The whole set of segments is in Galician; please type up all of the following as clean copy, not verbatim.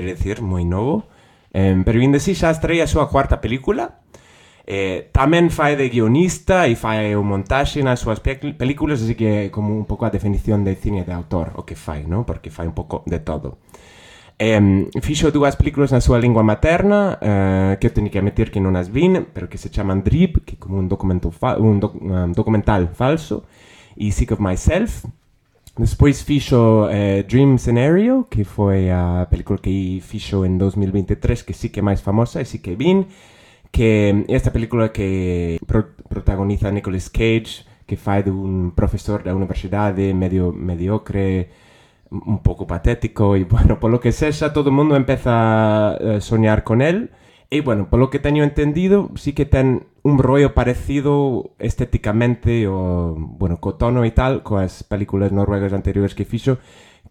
quero dicir, moi novo. Pero ainda así xa estreia a súa cuarta película. Tamén fai de guionista e fai o montaxe nas súas películas, así que é como un pouco a definición de cine de autor o que fai, non? Porque fai un pouco de todo. Fixo dúas películas na súa lingua materna, que eu teño que admitir que non as vin, pero que se chaman Drip, que é como un documental falso, e Sick of Myself. Despois fixo Dream Scenario, que foi a película que fixo en 2023, que sí que é máis famosa e sí que vin, que esta película que protagoniza Nicolas Cage, que fai dun profesor da universidade medio mediocre, un pouco patético, e, bueno, polo que sexa, todo o mundo empeza a soñar con él, e, bueno, polo que teño entendido, sí que ten un rollo parecido estéticamente, o, bueno, co tono e tal, coas películas noruegas anteriores que fixo,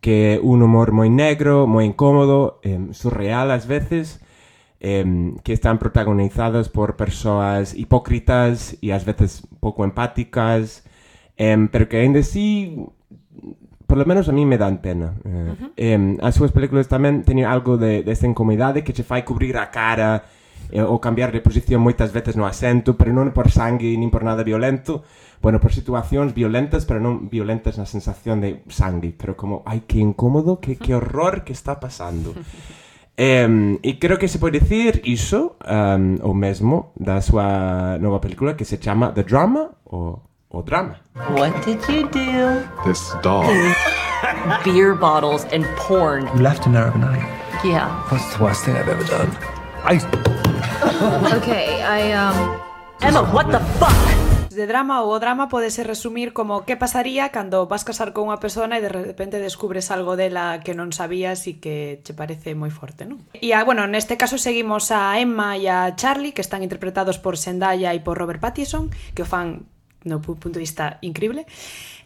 que é un humor moi negro, moi incómodo, surreal ás veces, que están protagonizadas por persoas hipócritas e ás veces pouco empáticas, pero que ainda así, por lo menos a mí me dan pena. As súas películas tamén teñen algo desta incomodidade que che fai cubrir a cara ou cambiar de posición moitas veces no asento, pero non por sangue nin por nada violento, bueno, por situacións violentas, pero non violentas na sensación de sangue, pero como, ai, que incómodo, que horror que está pasando. E creo que se pode dicir iso, o mesmo, da súa nova película que se chama The Drama, o drama. What did you do? This dog. Beer bottles and porn. You left an Arab night. Yeah. What's the worst thing I've ever done? Okay, Emma, what the fuck? De drama ou o drama podese resumir como que pasaría cando vas casar con unha persona e de repente descubres algo dela que non sabías e que che parece moi forte, non? E, bueno, neste caso seguimos a Emma e a Charlie, que están interpretados por Zendaya e por Robert Pattinson, que o fan no punto de vista increíble,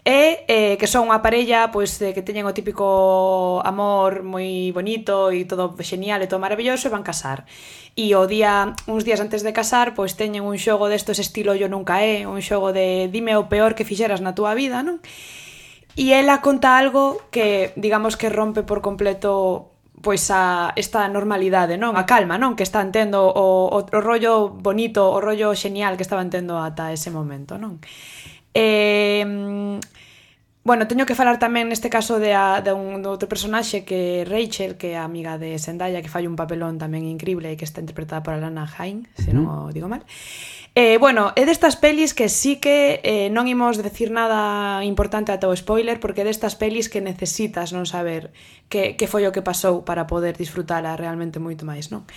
e que son unha parella pois, que teñen o típico amor moi bonito e todo genial e todo maravilloso, e van casar. E uns días antes de casar, pois teñen un xogo destos estilo Yo Nunca É, un xogo de dime o peor que fixeras na túa vida, non? E ela conta algo que, digamos que rompe por completo pois esta normalidade, non? A calma, non? Que están tendo o rollo bonito, o rollo genial que estaban tendo ata ese momento, non? Bueno, teño que falar tamén neste caso de outro personaxe que é Rachel, que é a amiga de Zendaya, que fai un papelón tamén increíble e que está interpretada por Alana Haim, se non o digo mal. Bueno, é destas pelis que sí que non imos decir nada importante ata o spoiler, porque é destas pelis que necesitas non saber que foi o que pasou para poder disfrutala realmente moito máis, non?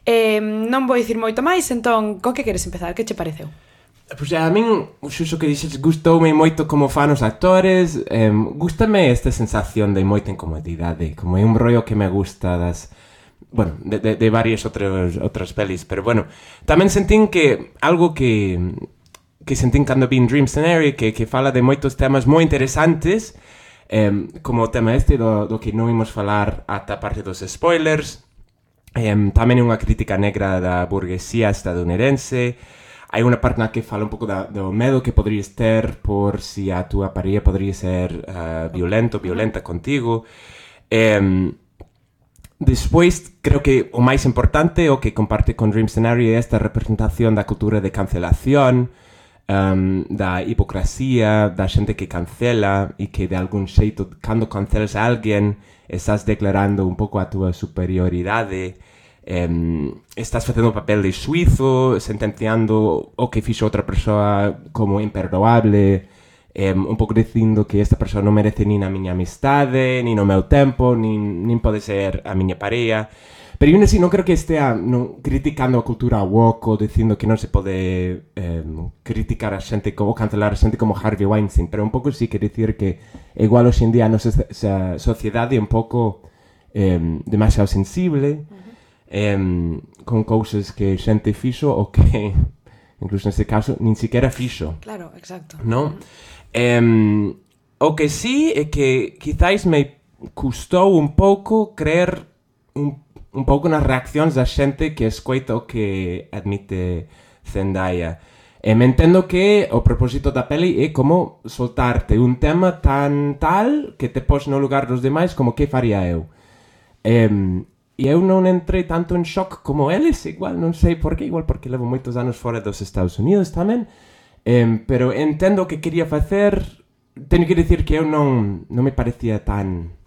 Non vou dicir moito máis, entón, co que queres empezar? Que che pareceu? Pois a min, xuxo que dixes, gustoume moito como fan os actores, gústame esta sensación de moita incomodidade, como é un rollo que me gusta das... Bueno, de varias outras pelis, pero bueno, tamén sentín que algo que sentín cando vin Dream Scenario, que fala de moitos temas moi interesantes, como o tema este do que non imos falar ata a parte dos spoilers, tamén é unha crítica negra da burguesía estadounidense. Hai unha parte na que fala un pouco do medo que poderías ter por si a túa parella podería ser violenta contigo. Despois, creo que o máis importante, o que comparte con Dream Scenario, é esta representación da cultura de cancelación, da hipocresía, da xente que cancela e que de algún xeito, cando cancelas a alguén, estás declarando un pouco a túa superioridade, estás facendo un papel de xuizo, sentenciando o que fixo outra persoa como imperdoable, un pouco dicindo que esta persoa non merece nin a miña amistade, nin o meu tempo, nin pode ser a miña parella. Pero eu non creo que estea criticando a cultura woke ou dicindo que non se pode criticar a xente ou cancelar a xente como Harvey Weinstein, pero un pouco sí que dicir que igual hoxe en día a nosa sociedade é un pouco demasiado sensible, con cousas que xente fixo ou que, incluso neste caso, nin siquiera fixo. Claro, exacto. Non? O que sí é que quizáis me custou un pouco creer un pouco nas reaccións da xente que escoita o que admite Zendaya. Me entendo que o propósito da peli é como soltarte un tema tan tal que te pos no lugar dos demais como que faría eu. E eu non entrei tanto en shock como eles, igual, non sei por qué, igual porque levo moitos anos fora dos Estados Unidos tamén, pero entendo o que quería facer. Teño que dicir que eu non me parecía tan...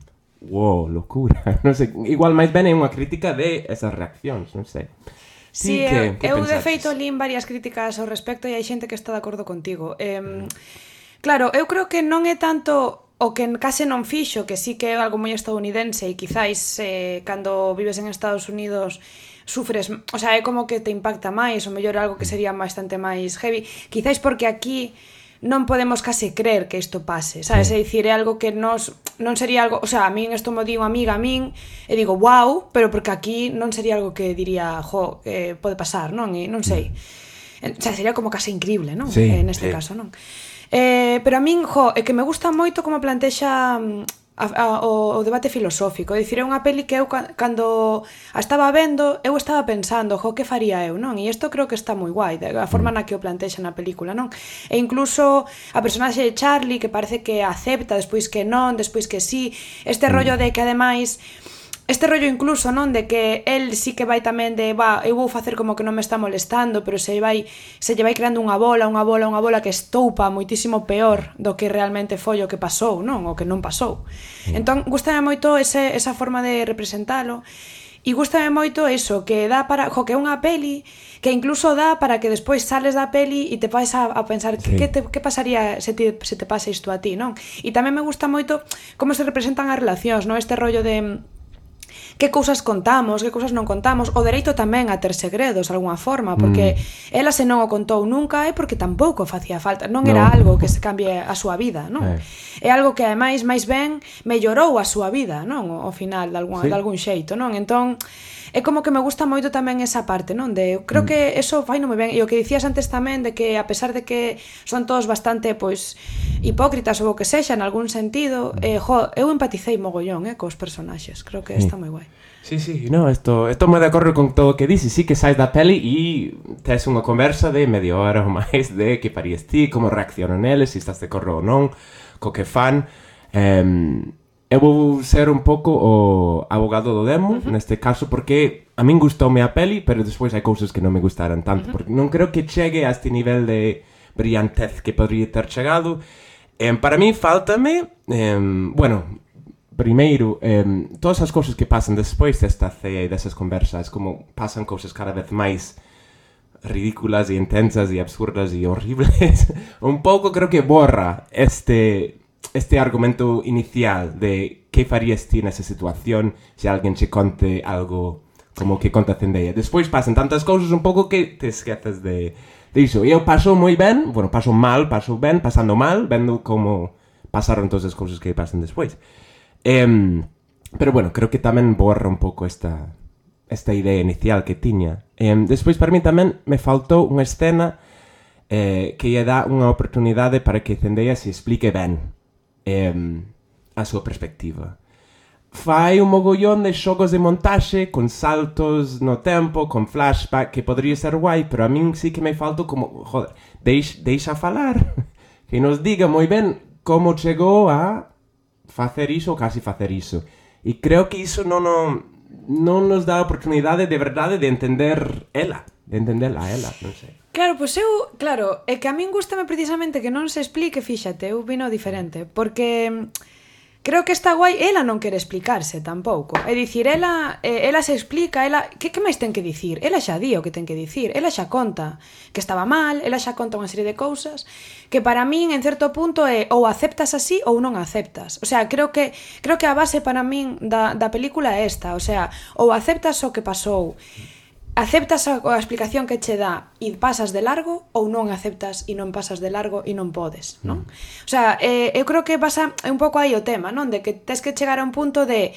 Wow, locura, non sei, igual máis ben é unha crítica de esas reaccións, non sei. Sí, eu de feito lín varias críticas ao respecto e hai xente que está de acordo contigo. Claro, eu creo que non é tanto o que case non fixo, que sí que é algo moi estadounidense e quizáis cando vives en Estados Unidos sufres, o sea, é como que te impacta máis, ou mellor algo que sería bastante máis heavy, quizáis porque aquí non podemos case creer que isto pase, sabes? É dicir, é algo que non sería algo, o sea, a min isto me di unha amiga a min e digo, wow, pero porque aquí non sería algo que diría, pode pasar, non? E non sei. O sea, sería como case increíble, non? Sí, neste caso, non? Pero a min, é que me gusta moito como plantexa o debate filosófico. É dicir, é unha peli que eu cando a estaba vendo, eu estaba pensando, que faría eu, non? E isto creo que está moi guai, a forma na que o plantexa na película, non? E incluso a personaxe de Charlie, que parece que acepta, despois que non, despois que sí, este rollo de que ademais... Este rollo incluso, non, de que el sí que vai tamén de, eu vou facer como que non me está molestando, pero se lle vai creando unha bola que estoupa moitísimo peor do que realmente foi o que pasou, non? O que non pasou. Entón, gústame moito esa forma de representalo. E gústame moito eso, que dá para... que é unha peli que incluso dá para que despois sales da peli e te vais a pensar que pasaría se te pasa isto a ti, non? E tamén me gusta moito como se representan as relacións, non? Este rollo de... que cousas contamos, que cousas non contamos, o dereito tamén a ter segredos de alguna forma, porque ela se non o contou nunca é porque tampouco facía falta, non era algo que se cambie a súa vida, non? É algo que ademais máis ben mellorou a súa vida, non? Ao final de algún xeito, non? Entón é como que me gusta moito tamén esa parte, non? De, creo que eso fai non moi ben, e o que dicías antes tamén de que a pesar de que son todos bastante, pois, hipócritas ou o que sexa en algún sentido, eu empaticei mogollón, cos personaxes, creo que está moi guai. Sí, no, esto me de acordo con todo o que dices, sí que sais da peli e tes unha conversa de media hora ou máis de que farías ti, como reaccionan eles, se estás de acordo ou non, co que fan. Eu vou ser un pouco o abogado do demo, neste caso, porque a min gustoume a peli, pero despois hai cousas que non me gustaran tanto, porque non creo que chegue a este nivel de brillantez que podría ter chegado. Para mí, faltame, primeiro, todas as cousas que pasan despois desta cea e desas conversas, como pasan cousas cada vez máis ridículas e intensas e absurdas e horribles, un pouco creo que borra este argumento inicial de que farías ti nesa situación se alguén che conte algo como que conta Zendaya. Despois pasan tantas cousas un pouco que te esqueces de iso. E eu paso moi ben, paso ben, pasando mal, vendo como pasaron todas as cousas que pasan despois. Pero creo que tamén borra un pouco esta idea inicial que tiña. Despois, para mí tamén me faltou unha escena que lle dá unha oportunidade para que Zendaya se explique ben a súa perspectiva. Fai un mogollón de xogos de montaxe con saltos no tempo, con flashback, que podría ser guai, pero a min sí que me faltou como, deixa falar, que nos diga moi ben como chegou a facer iso ou casi facer iso. E creo que iso non nos dá a oportunidade de verdade de entender ela, non sei. Claro, pois é que a min gústame precisamente que non se explique, fíxate, eu vino diferente, porque creo que está guai, ela non quere explicarse tampouco, é dicir, ela se explica, que máis ten que dicir? Ela xa di o que ten que dicir, ela xa conta que estaba mal, ela xa conta unha serie de cousas que para min, en certo punto, é ou aceptas así ou non aceptas. O sea, creo que a base para min da película é esta, o sea, ou aceptas o que pasou, aceptas a explicación que che dá e pasas de largo, ou non aceptas e non pasas de largo e non podes, non? O sea, eu creo que pasa un pouco aí o tema, non? De que tes que chegar a un punto de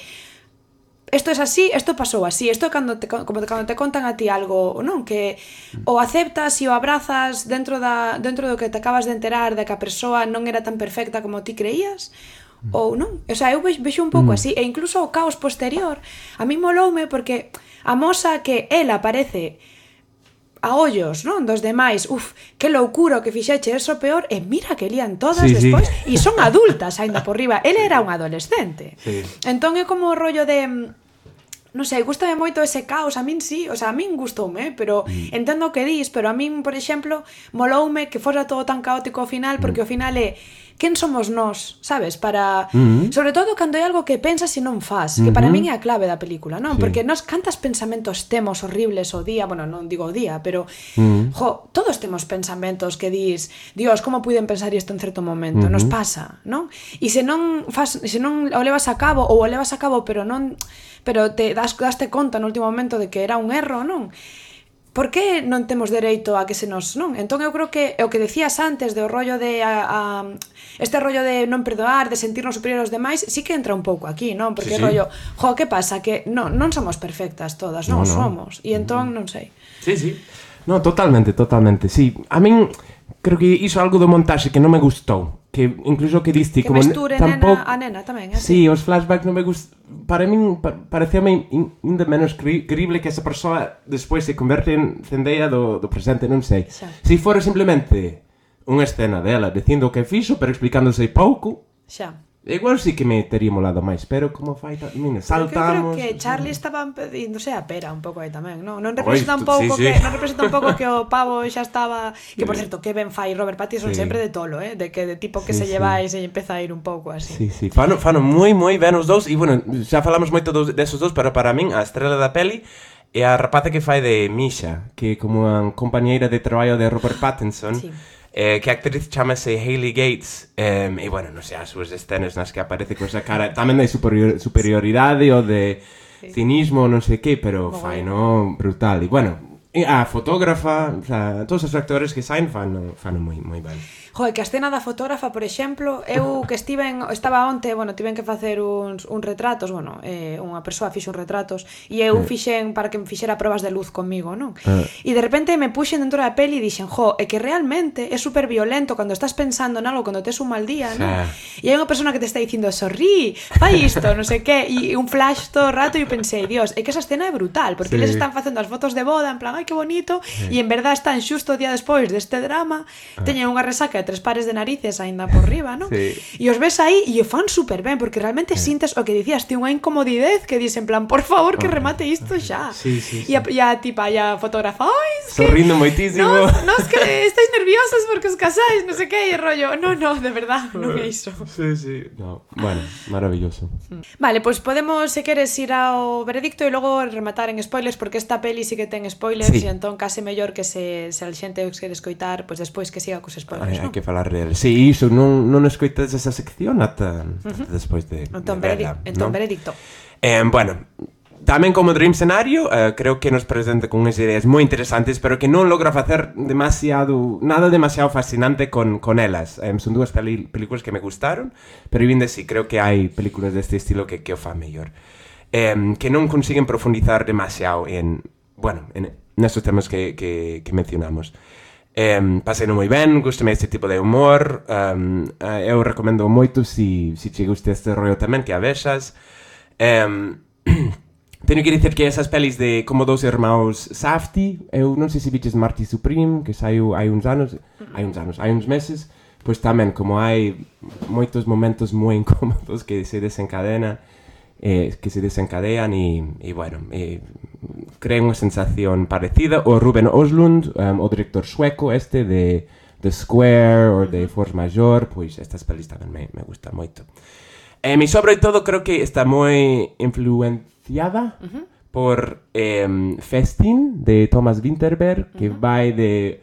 isto é así, isto pasou así, isto é cando te contan a ti algo, non? Que o aceptas e o abrazas dentro do que te acabas de enterar de que a persoa non era tan perfecta como ti creías, ou non? O sea, eu vexo un pouco así, e incluso o caos posterior a mí moloume porque amosa que ela parece a ollos, non? Dos demais, que loucura o que fixeche, eso peor, e mira que lían todas despois, e son adultas aínda por riba, ele era un adolescente. Entón é como o rollo de non sei, gústame moito ese caos, a min sí, o sea, a min gustoume, pero entendo o que dis, pero a min, por exemplo, moloume que fora todo tan caótico ao final, porque ao final é quen somos nós, sabes? Para sobre todo cando é algo que pensas e non fas, que para min é a clave da película, non? Porque nós cantas pensamentos temos horribles o día, bueno, non digo o día, pero todos temos pensamentos que dis, Dios, como puiden pensar isto en certo momento? Nos pasa, non? E se non o levas a cabo ou o levas a cabo, pero te daste conta no último momento de que era un erro, non? Por que non temos dereito a que se nos, non? Entón eu creo que o que decías antes do rollo de este rollo de non perdoar, de sentirnos superiores aos demais, sí que entra un pouco aquí, non? Porque rollo, que pasa? Que non somos perfectas todas, non somos. E entón, non sei. Sí. No, totalmente, sí. A min creo que iso algo do montaxe que non me gustou. Que incluso que diste que como mesture tampouco... a nena tamén, así. Sí, os flashbacks non me gustan. Para min pareceume ainda menos creíble que esa persoa despois se converte en Zendaya do presente, non sei. Se fora simplemente unha escena dela dicindo o que fixo, pero explicándose pouco, igual sí que me tería molado máis, pero como fai saltamos... Eu creo que Charlie estaba pedíndose a pera un pouco aí tamén, non? Non representa un pouco que o pavo xa estaba... Que, por certo, que ben fai Robert Pattinson sempre de tolo, de que de tipo que se lleva e se empeza a ir un pouco así. Sí. Fano moi ben os dous, e, bueno, xa falamos moito desos dous, pero para min a estrela da peli é a rapaza que fai de Misha, que é como a compañeira de traballo de Robert Pattinson, que a actriz chamase Hayley Gates, e, bueno, non sei, as súas escenas nas que aparece con esa cara tamén de superioridade ou de cinismo, non sei que, pero fai, no, brutal. E, bueno, a fotógrafa, o sea, todos os actores que saen fan moi ben. Joder, que a escena da fotógrafa, por exemplo, eu que estaba onte, bueno, tiven que facer uns retratos, bueno, unha persoa fixo uns retratos e eu fixen para que me fixera probas de luz comigo, non? E de repente me puxen dentro da peli e dixen, é que realmente é super violento cando estás pensando en algo, cando tes un mal día, non? E hai unha persona que te está dicindo, sorrí, fai isto, non sei que, e un flash todo o rato e pensei, Dios, é que esa escena é brutal, porque eles están facendo as fotos de boda, en plan, ai, que bonito, e en verdad están xusto o día despois deste drama, teñen unha resaca 3 pares de narices aínda por riba, non? E os ves aí e o fan super ben, porque realmente sintes o que dicías, ti unha incomodidez que dis en plan, por favor, que remate isto xa. E a fotógrafa, sorrindo moitísimo. No, es que estáis nerviosos porque os casáis, non sei que, e rollo, no, de verdad, non é iso. Sí. No, bueno, maravilloso. Vale, pois podemos, se queres, ir ao veredicto e logo rematar en spoilers, porque esta peli sí que ten spoilers, e entón case mellor que se a xente os quere escoitar, pois despois que siga cos spoilers, non? Hai que falar del. Sí, iso, non escoitas esa sección ata despois de entón, veredicto. Bueno, tamén como Dream Scenario, creo que nos presenta con unhas ideas moi interesantes, pero que non logra facer nada demasiado fascinante con elas. Son dúas películas que me gustaron, pero ainda sí, creo que hai películas deste estilo que o fan mellor. Que non consiguen profundizar demasiado en nestes temas que mencionamos. Pasei moi ben, gustame este tipo de humor, eu recomendo moito se che guste este rollo tamén que a vexas. Teño que dicir que esas pelis de como dous irmãos Safdie, eu non sei se viches Marty Supreme, que saiu hai uns meses, pois tamén como hai moitos momentos moi incómodos que se desencadean e bueno, creen unha sensación parecida. O Ruben Östlund, o director sueco de The Square ou de Force Majeure, pois estas pelis tamén me gustan moito. E sobre todo creo que está moi influenciada por Festin de Thomas Vinterberg, que vai de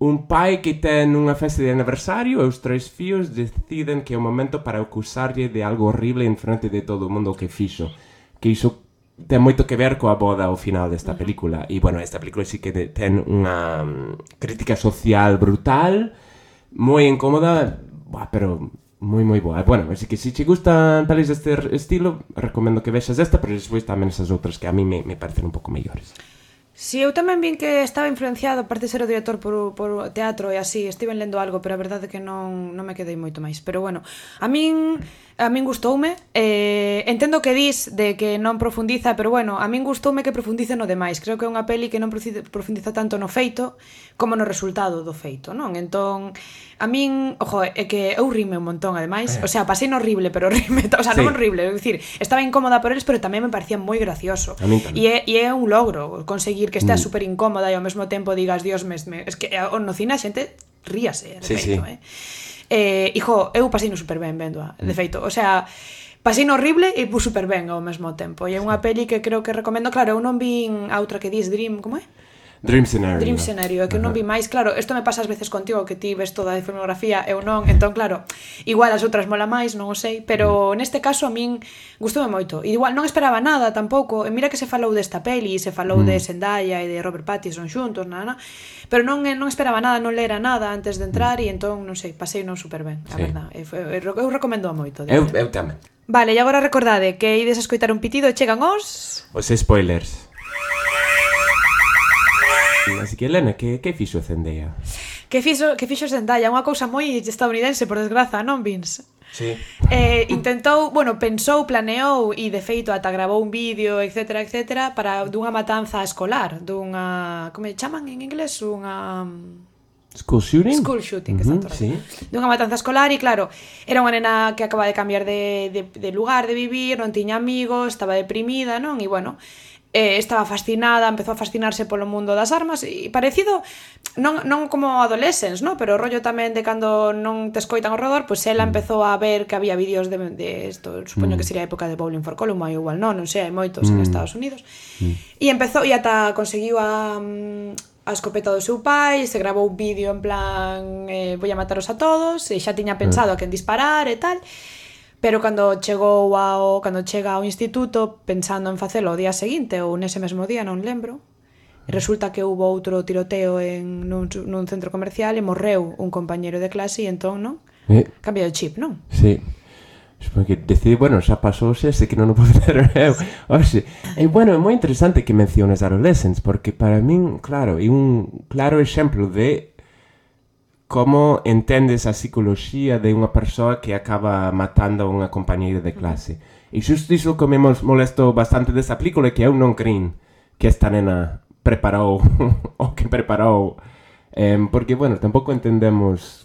un pai que ten unha festa de aniversario e os 3 fillos deciden que é o momento para acusarlle de algo horrible en frente de todo o mundo que fixo. Que iso ten moito que ver coa boda ao final desta película. E, bueno, esta película sí que ten unha crítica social brutal, moi incómoda, pero moi boa. Bueno, así que se che gustan pelis deste estilo, recomendo que vexas esta, pero despois tamén esas outras que a mí me parecen un pouco mellores. Si, eu tamén vin que estaba influenciado, aparte de ser o director por teatro e así, estiven lendo algo, pero a verdade é que non me quedei moito máis. Pero bueno, a min gustoume, entendo que dis de que non profundiza, pero bueno, a min gustoume que profundice no demais. Creo que é unha peli que non profundiza tanto no feito como no resultado do feito, non? Entón, a min, ojo, é que eu rime un montón, ademais, o sea, pasei no horrible, pero rime, o sea, non horrible, é dicir, estaba incómoda por eles, pero tamén me parecía moi gracioso. E é un logro conseguir que estea super incómoda e ao mesmo tempo digas, Dios, es que no cine a xente ríase, de feito, hijo, eu pasei no super ben vendo, de feito, o sea, pasei no horrible e super ben ao mesmo tempo. E é unha peli que creo que recomendo, claro, eu non vin a outra que dis Dream, como é? Dream Scenario. Dream Scenario, é que non vi máis, claro, isto me pasa ás veces contigo, que ti ves toda a filmografía, eu non, entón, claro, igual as outras mola máis, non o sei, pero neste caso a min gustoume moito, e igual non esperaba nada tampouco, e mira que se falou desta peli, se falou de Zendaya e de Robert Pattinson xuntos, pero non esperaba nada, non lera nada antes de entrar, e entón, non sei, pasei non super ben, a verdad, eu recomendo moito. Eu tamén. Vale, e agora recordade que ides a escoitar un pitido e chegan os spoilers. Así que, Elena, que fixo Zendaya? Que fixo Zendaya? Unha cousa moi estadounidense, por desgraza, non, Vince? Sí. Intentou, bueno, pensou, planeou e de feito ata gravou un vídeo, etcétera, para dunha matanza escolar, dunha, como chaman en inglés? Unha School shooting? School shooting, exacto. Sí. Dunha matanza escolar e claro, era unha nena que acaba de cambiar de lugar de vivir, non tiña amigos, estaba deprimida, non? E bueno, estaba fascinada, empezou a fascinarse polo mundo das armas e parecido, non como adolescents, no? Pero o rollo tamén de cando non te escoitan ao redor, pois ela empezou a ver que había vídeos de isto, supoño que sería a época de Bowling for Columbine, igual non sei, hai moitos en Estados Unidos. E empezou, e ata conseguiu a escopeta do seu pai, se gravou un vídeo en plan vou a mataros a todos, e xa tiña pensado a quen disparar e tal. Pero cando chega ao instituto pensando en facelo o día seguinte ou nese mesmo día, non lembro, resulta que houve outro tiroteo nun centro comercial e morreu un compañeiro de clase e entón, non? Cambia o chip, non? Sí. Porque decide, bueno, xa pasou ese que non o podo ter eu. Oxe, e bueno, é moi interesante que menciones adolescents, porque para min, claro, é un claro exemplo de como entendes a psicoloxía de unha persoa que acaba matando a unha compañeira de clase. E xusto iso que me molestou bastante desa película é que eu non crin que esta nena preparou o que preparou, porque, bueno, tampouco entendemos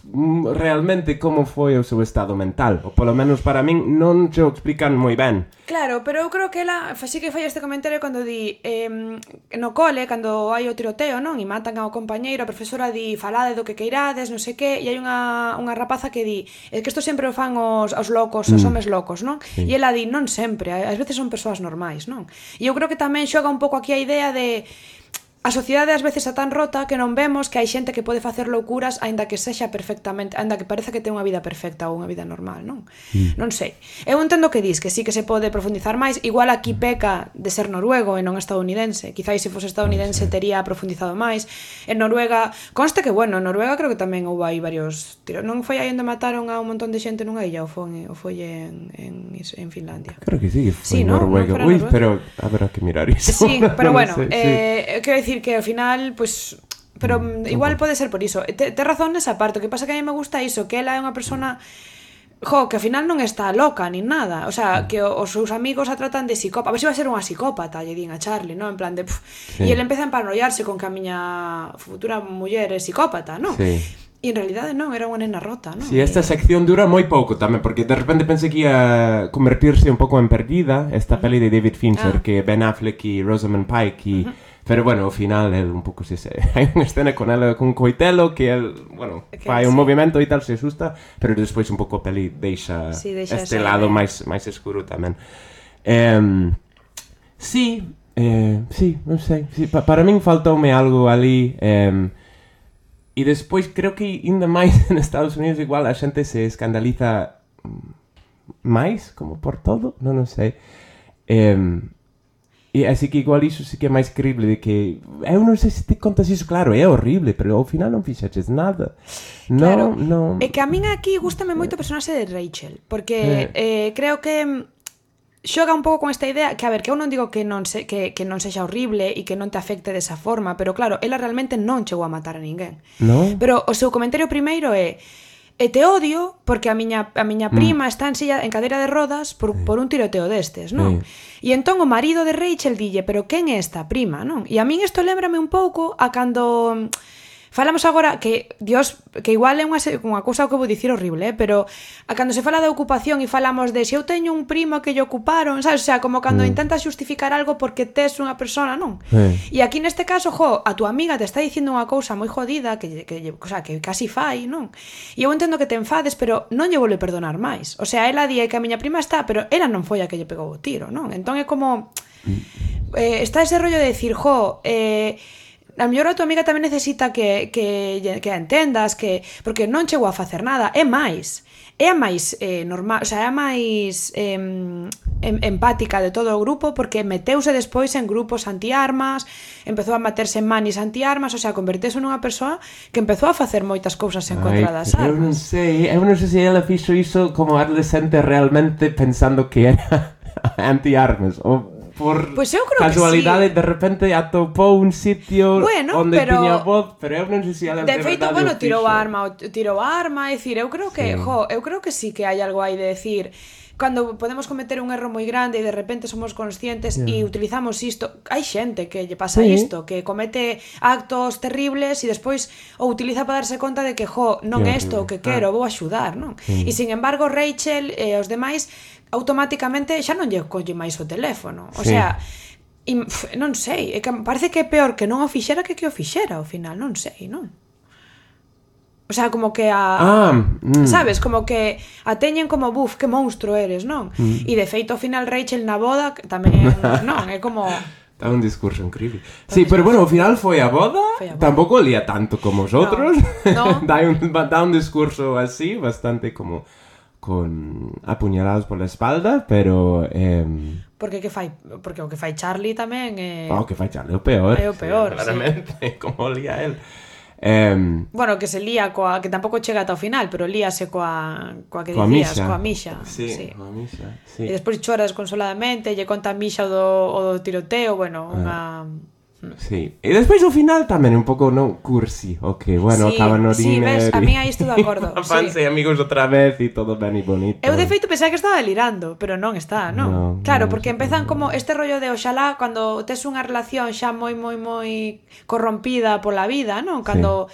realmente como foi o seu estado mental, ou polo menos para min non se o explican moi ben. Claro, pero eu creo que ela sí que fai este comentario cando di no cole, cando hai o tiroteo, non? E matan ao compañeiro, a profesora di falade do que queirades, non sei que, e hai unha rapaza que di é que isto sempre o fan os locos, os homes locos, non? Sí. E ela di, non sempre, ás veces son persoas normais, non? E eu creo que tamén xoga un pouco aquí a idea de a sociedade ás veces é tan rota que non vemos que hai xente que pode facer loucuras aínda que sexa perfectamente, aínda que parece que ten unha vida perfecta ou unha vida normal, non? Non sei. Eu entendo que dis que sí que se pode profundizar máis, igual aquí peca de ser noruego e non estadounidense. Quizás se fose estadounidense tería profundizado máis. En Noruega, conste que bueno, en Noruega creo que tamén houve aí varios tiros. Non foi aí onde mataron a un montón de xente nunha illa ou foi en Finlandia? Creo que sí, que foi en Noruega. Ui, pero habrá que mirar iso. Sí, pero bueno, quero dicir que ao final, pues, pero igual pode ser por iso. Te razón nesa parte, o que pasa que a mí me gusta iso, que ela é unha persona que ao final non está loca ni nada, o sea, que os seus amigos a tratan de psicópata, a ver se vai ser unha psicópata, lle din a Charlie, non? En plan de e ele empeza a emparanoiarse con que a miña futura muller é psicópata, non? Sí. E en realidade non, era unha nena rota, non? Si, esta sección dura moi pouco tamén, porque de repente pensei que ia convertirse un pouco en Perdida, esta peli de David Fincher, que Ben Affleck e Rosamund Pike pero bueno, ao final é un pouco hai unha escena con ela con coitelo que el, bueno, fai un movimento e tal, se asusta, pero despois un pouco a peli deixa este lado máis escuro tamén. Sí, non sei, para min faltoume algo ali, e despois creo que ainda máis en Estados Unidos igual a xente se escandaliza máis, como por todo, non sei. E así que igual iso sí que é máis creíble de que eu non sei se te contas iso, claro, é horrible, pero ao final non fixaches nada. Claro, non. É que a min aquí gústame moito o personaxe de Rachel, porque creo que xoga un pouco con esta idea que, a ver, que eu non digo que non sexa horrible e que non te afecte desa forma, pero claro, ela realmente non chegou a matar a ninguén. No? Pero o seu comentario primeiro é: e te odio porque a miña prima está en cadeira de rodas por un tiroteo destes, non? E entón o marido de Rachel dille: pero quen é esta prima, non? E a min isto lémbrame un pouco a cando... Falamos agora que, Dios, que igual é unha cousa que vou dicir horrible, pero a cando se fala de ocupación e falamos de se eu teño un primo que lle ocuparon, sabes? O sea, como cando intentas justificar algo porque tes unha persona, non? E aquí neste caso, a tua amiga te está dicindo unha cousa moi jodida que casi fai, non? E eu entendo que te enfades, pero non lle volve perdonar máis. O sea, ela di que a miña prima está, pero ela non foi a que lle pegou o tiro, non? Entón é como... está ese rollo de decir, a mellor a tua amiga tamén necesita que a entendas, porque non chegou a facer nada, é máis normal, o sea, é máis empática de todo o grupo, porque meteuse despois en grupos antiarmas, empezou a meterse en manis antiarmas, o sea, converteuse nunha persoa que empezou a facer moitas cousas en contra das armas. Eu non sei se ela fixo iso como adolescente realmente pensando que era antiarmas, ou por casualidade de repente atopou un sitio onde tiña voz, pero eu non sei se ela de feito, tirou a arma, é dicir, eu creo que sí que hai algo aí de decir, cando podemos cometer un erro moi grande e de repente somos conscientes e utilizamos isto, hai xente que lle pasa isto, que comete actos terribles e despois o utiliza para darse conta de que non é isto o que quero, vou axudar, non? E sin embargo Rachel e os demais automáticamente xa non lle colle máis o teléfono, o sea, non sei, é que parece que é peor que non o fixera que o fixera ao final, non sei, non? O sea, como que sabes, como que a teñen como, que monstro eres, non? E de feito ao final Rachel na boda tamén, non, é como... Dá un discurso increíble. Sí, pero bueno, ao final foi a boda, tampouco lía tanto como os outros. No. Dá un discurso así, bastante como con apuñalados por la espalda, pero... Porque o que fai Charlie tamén é... O que fai Charlie é o peor. É o peor, claramente, como lía él. Bueno, que se lía que tampouco chega ata o final, pero líase coa que dicías, coa Misha. Sí, coa Misha, sí. E despois chora desconsoladamente, lle conta a Misha o do tiroteo, bueno, unha... Sí, e despois o final tamén un pouco cursi, o que, bueno, acaban no Sí, ves, diner a mí aí estou de acordo. Fanse amigos outra vez e todo ben e bonito. Eu de feito pensaba que estaba delirando, pero non está, non? Claro, porque empezan como este rollo de oxalá cando tes unha relación xa moi corrompida pola vida, non? Cando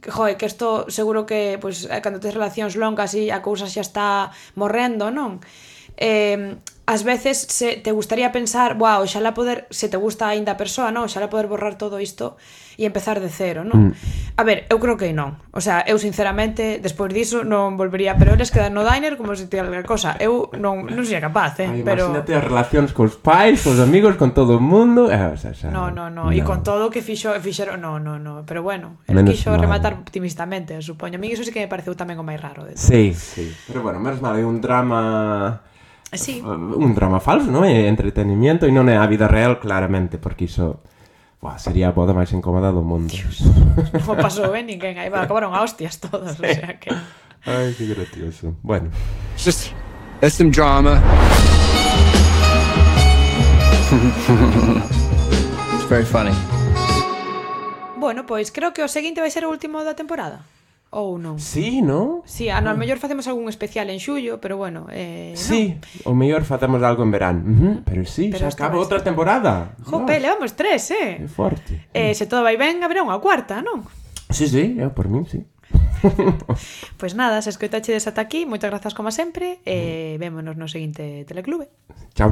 que isto seguro que cando tes relacións longas e a cousa xa está morrendo, non? Ás veces te gustaría pensar, oxalá poder, se te gusta aínda a persoa, non? Oxalá poder borrar todo isto e empezar de cero, non? A ver, eu creo que non. O sea, eu sinceramente, despois diso non volvería, pero eles quedan no diner como se tivera cosa. Eu non sería capaz, pero... Imagínate as relacións cos pais, cos amigos, con todo o mundo. No. E con todo o que fixeron, no. Pero bueno, el quixo rematar optimistamente, supoño. A mí iso sí que me pareceu tamén o máis raro. Sí. Pero bueno, menos mal, é un drama... Sí. Un drama falso, non? É entretenimiento e non é a vida real, claramente, porque iso sería a boda máis incómoda do mundo. Dios, non pasou ninguén, aí acabaron a hostias todos, o sea que... Ai, que gracioso. Bueno. It's some drama. It's very funny. Bueno, pois creo que o seguinte vai ser o último da temporada. Ou non? Sí, non? Sí, a mellor facemos algún especial en xullo, pero bueno, sí, o mellor facemos algo en verán. Pero sí, xa acaba outra temporada. Jope, levamos 3, É forte. Se todo vai ben, haberá unha cuarta, non? Sí, eu por min, sí. Pois nada, se escoitachedes ata aquí, moitas grazas como sempre, e vémonos no seguinte Teleclube. Chao.